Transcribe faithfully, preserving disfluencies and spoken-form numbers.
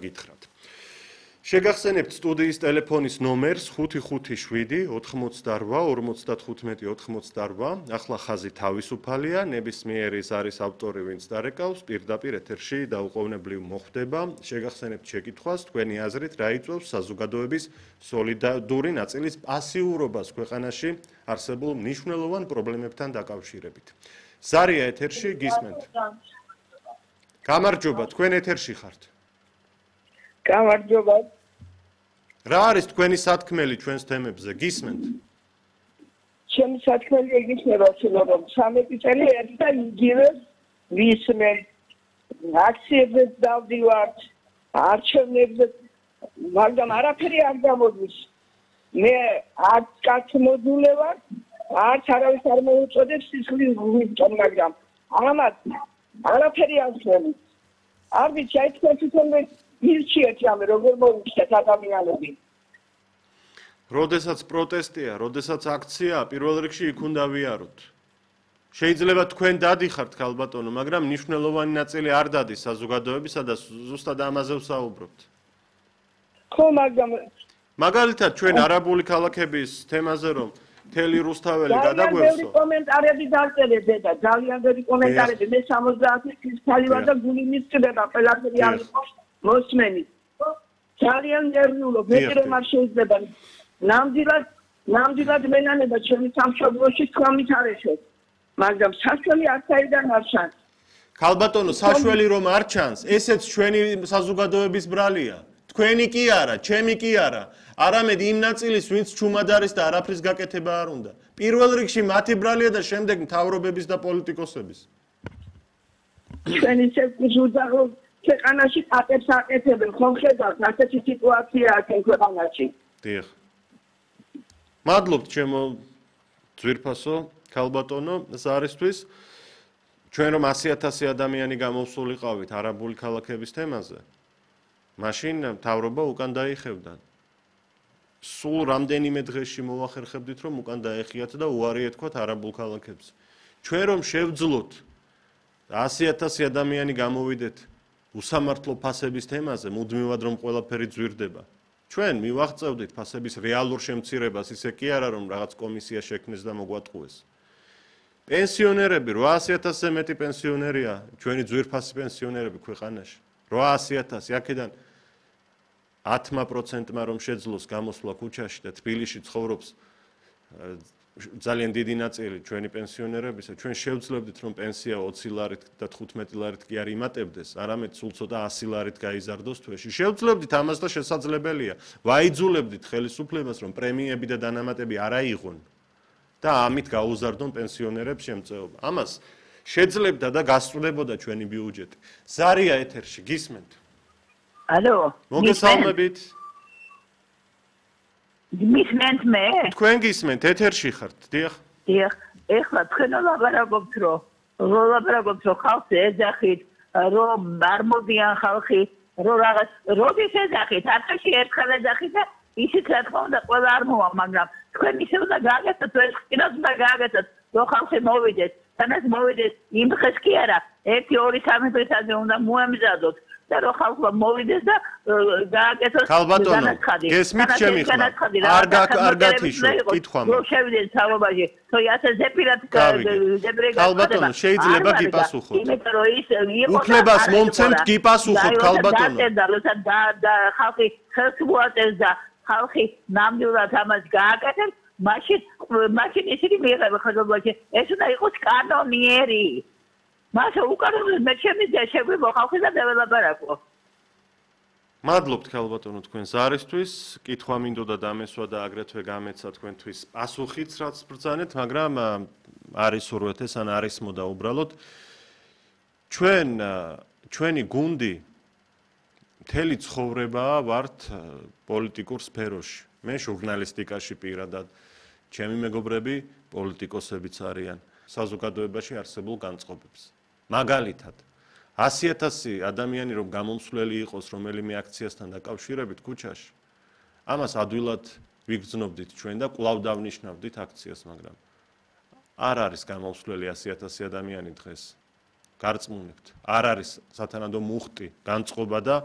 გითხრათ. შეგახსენებთ სტუდიის ტელეფონის ნომერს ხუთი ხუთი შვიდი ოთხმოცდარვა ორმოცდათხუთმეტი ოთხმოცდარვა. ახლა ხაზი თავისუფალია, ნებისმიერ ის არის ავტორი, ვინც დარეკავს, პირდაპირ ეთერში დაუყოვნებლივ მოხვდება. შეგახსენებთ შეკითხვას, თქვენი აზრით რა იწვევს საზოგადოების სოლიდარული ნაწილის პასიურობას ქვეყანაში არსებულ მნიშვნელოვან პრობლემებთან დაკავშირებით. ზარია ეთერში, გისმენთ. გამარჯობა, თქვენ ეთერში ხართ. გამარჯობა. რა არის თქვენი სათქმელი ჩვენს თემებზე? გისმენთ? ჩემი სათქმელი ეგიჩნდება, რომ სამი წელი ერთი და იგივე ვისმენ. აქციებზე დავდივართ, არჩევნებზე, მაგრამ არაფერი არ გამოდის. მე არც კაც მოდულე ვარ, არც არავის არ მოუწოდებს სისხლის გულიდან, მაგრამ ამათ არაფერი არ ხდება. არ ვიცი, აი თქვენ თვითონ ირჩიეთ ამე როგორ მოვიხდეთ ადამიანები. როდესაც პროტესტია, როდესაც აქცია, პირველ რიგში იქ უნდა ვიაროთ. შეიძლება თქვენ დადიხართ ქალბატონო, მაგრამ მნიშვნელოვანი ნაწილი არ დადის საზოგადოებისა და ზუსტად ამაზე ვსაუბრობთ. ხო, მაგრამ მაგალითად ჩვენ არაბული ქალაქების თემაზე რომ მთელი რუსთაველი გადაგვევსო. ძალიან ბევრი კომენტარები დავწერეთ და ძალიან ბევრი კომენტარები მე სამოცდაათი წლის ქალი ვარ და გული მისწრება ყველაფერი არ იყოს მოსმენი. ძალიან ნერვიულობ, მე რომ არ შეიძლება. ნამდვილად, ნამდვილად მენანება ჩემი სამშობლოში თქვამით არ ეშოთ. მაგრამ საშველი არ საიდან არ ჩანს. ქალბატონო, საშველი რომ არ ჩანს, ესეც ჩვენი საზოგადოების ბრალია. თქვენი კი არა, ჩემი კი არა. არამედ იმ ნაწილის, ვინც ჩუმად არის და არაფრის გაკეთება არ უნდა. პირველ რიგში მათი ბრალია და შემდეგ მთავრობების და პოლიტიკოსების. ჩვენ ისე გზუდაღო ქვეყანაში პატებს აკეთებენ, ხომ ხედავთ, ასეთი სიტუაციაა ჩვენ ქვეყანაში. დიახ. მადლობთ ჩემო ძვირფასო ქალბატონო ზარისთვის. ჩვენ რომ ასი ათასი ადამიანი გამოვსულიყავით არაბული ქალაქების თემაზე, მაშინ მთავრობა უკან დაიხევდა. სულ რამდენიმე დღეში მოვახერხებდით, რომ უკან დაეხიათ და უარი ეთქვათ არაბულ ქალაქებს. ჩვენ რომ შევძლოთ ასი ათასი ადამიანი გამოვიდეთ უსამართლო ფასების თემაზე, მუდმივად რომ ყველაფერი ძვირდება. ჩვენ მივაღწევდით ფასების რეალურ შემცირებას, ისე კი არა რომ რაღაც კომისია შექმნეს და მოგვატყუეს. პენსიონერები, რვაასი ათასზე მეტი პენსიონერია, ჩვენი ძვირფასი პენსიონერები ქვეყანაში. რვაასი ათასი, აქედან ათმა პროცენტმა რომ შეძლოს გამოსვლა ქუჩაში და თბილისში ცხოვრობს ძალიან დიდი ნაწილი ჩვენი პენსიონერებისა, ჩვენ შევძლებდით რომ პენსია ოცი ლარით და თხუთმეტი ლარით კი არ იმატებდეს, არამედ სულ ცოტა ასი ლარით გაიზარდოს თვეში. შევძლებდით ამას და შესაძლებელია. ვაიძულებდით ხელისუფლებას რომ პრემიები და დანამატები არ აიღონ და ამით გაუზარდონ პენსიონერებს შემწეობა. ამას შეძლებდა და გასწრებოდა ჩვენი ბიუჯეტი. ზარია ეთერში, გისმენთ? ალო, მოგესალმებით. გისმენთ მე? თქვენ გისმენთ, ეთერში ხართ, დიახ. დიახ, ეხლა თქვენ ლაპარაკობთ, რომ ლაპარაკობთ, რომ ხალხს ეძახით, რომ არ მოდიან ხალხი, რომ რაღაც, როდის ეძახით, ათში ერთხელ ეძახით და ისიც რა თქმა უნდა ყველა არ მოვა, მაგრამ თქვენ ისე უნდა გააკეთოთ, ეს კიდევ უნდა გააკეთოთ, რომ ხალხი მოვიდეს, თანაც მოვიდეს იმ დღეს კი არა, ერთი, ორი, სამი დღისაზე უნდა მოემზადოთ. და რო ხალხმა მოვიდეს და გააკეთოს განაცხადი. გესმით ჩემი ხმა? არ არ გათიშოთ, კითხვა მაქვს. რო შევიდნენ სამობაში, თო ასე ზეპირად ზეპირად ქალბატონო, შეიძლება გიპასუხოთ. იმიტომ რომ ის იყო უფლებას მომცემთ გიპასუხოთ ქალბატონო. და და ხალხი ხელს მოაწევს და ხალხი ნამდვილად ამას გააკეთებს, მაშინ მაშინ ისინი მიიღება ხელმოკლე. ეს უნდა იყოს კანონიერი. მასე უკანონო მე ჩემი და შეგვიბო ხალხი და დეველოპერაკო. მადლობთ ქალბატონო თქვენ ზარისთვის, კითხვა მინდოდა დამესვა და აგრეთვე გამეცა თქვენთვის პასუხიც რაც ბრძანეთ, მაგრამ არის ურვეთეს ან არის მოდა უბრალოდ ჩვენ ჩვენი გუნდი მთელი ცხოვრება ვართ პოლიტიკურ სფეროში. მე ჟურნალისტიკაში პირადად, ჩემი მეგობრები პოლიტიკოსებიც არიან საზოგადოებაში არსებულ განწყობებს. მაგალითად, ასი ათასი ადამიანი რომ გამომსვლელი იყოს რომელიმე აქციასთან დაკავშირებით ქუჩაში, ამას ადვილად ვიგრძნობდით ჩვენ და კვლავ დავნიშნავდით აქციას, მაგრამ არ არის გამომსვლელი ასი ათასი ადამიანი დღეს. გარწმუნებთ, არ არის სათანადო მუხტი, განწყობა და